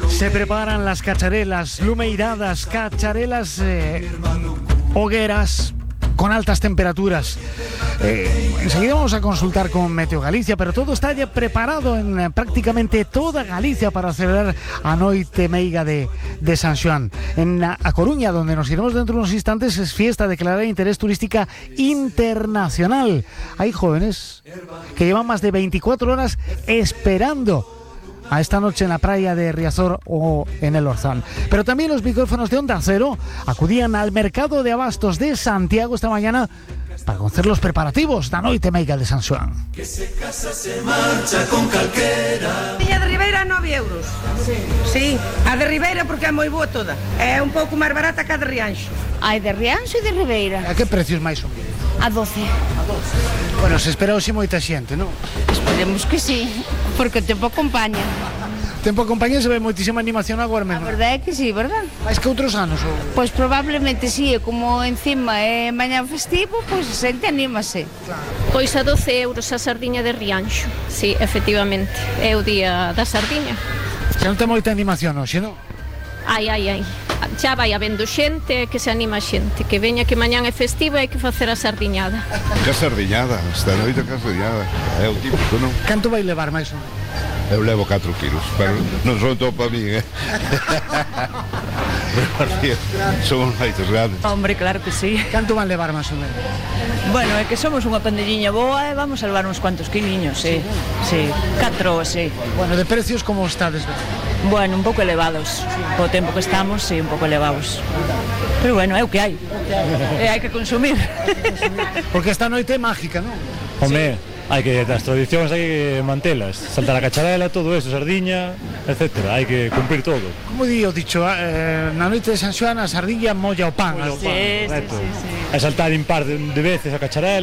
Se preparan las cacharelas, lumeiradas, cacharelas, hogueras con altas temperaturas. Enseguida vamos a consultar con Meteo Galicia, pero todo está ya preparado en prácticamente toda Galicia para celebrar a Noite Meiga de San Xoán. En A Coruña, donde nos iremos dentro de unos instantes, es fiesta declarada de interés turística internacional. Hay jóvenes que llevan más de 24 horas esperando a esta noche en la playa de Riazor o en el Orzán. Pero también los micrófonos de Onda Cero acudían al mercado de abastos de Santiago esta mañana para conocer los preparativos da Noite Meiga de San Xoán. Que se casa se marcha con calquera. A de Ribeira 9 euros. Sí, a de Ribeira porque é moi boa toda. É un pouco máis barata que a de Rianxo. Hai de Rianxo e de Ribeira. A que precios máis ou menos? A 12. Bueno, se espera hoxe moita xente, non? Esperemos que sí, porque o tempo acompaña. Tempo acompaña, se ve moitísima animación agora A mesmo. verdade é que sí, verdad? Mais que outros anos? Ou... Pois probablemente sí, como encima é mañá festivo, pois a xente anímase. Pois a 12 euros a sardiña de Rianxo. Sí, efectivamente, é o día da sardiña. Xa non ten moita animación hoxe, non? Ai. Xa vai habendo xente, que se anima a xente. Que veña que mañán é festivo e hai que facer a sardiñada. Que sardiñada, esta noite que sardiñada. É o típico, non? Canto vai levar máis ou menos? Eu levo 4 kilos, pero non son todo para mí, Somos maitos grandes. Hombre, claro que sí. Canto van levar máis ou menos? Bueno, é que somos unha pandilliña boa e vamos a levar uns cuantos quiliños, sí. 4, sí. Bueno, de precios como estades? Bueno, un pouco elevados. O tempo que estamos, sí, un pouco elevados. Pero bueno, é o que hai. E hai que consumir. Porque esta noite é mágica, non? Home, hai que, as tradicións hai que mantelas. Saltar a cacharela, todo eso, sardiña, etcétera. Hai que cumprir todo. Como di o dicho, na noite de San Xoán a sardiña molla o pan. Sí. E saltar impar de veces a cacharela.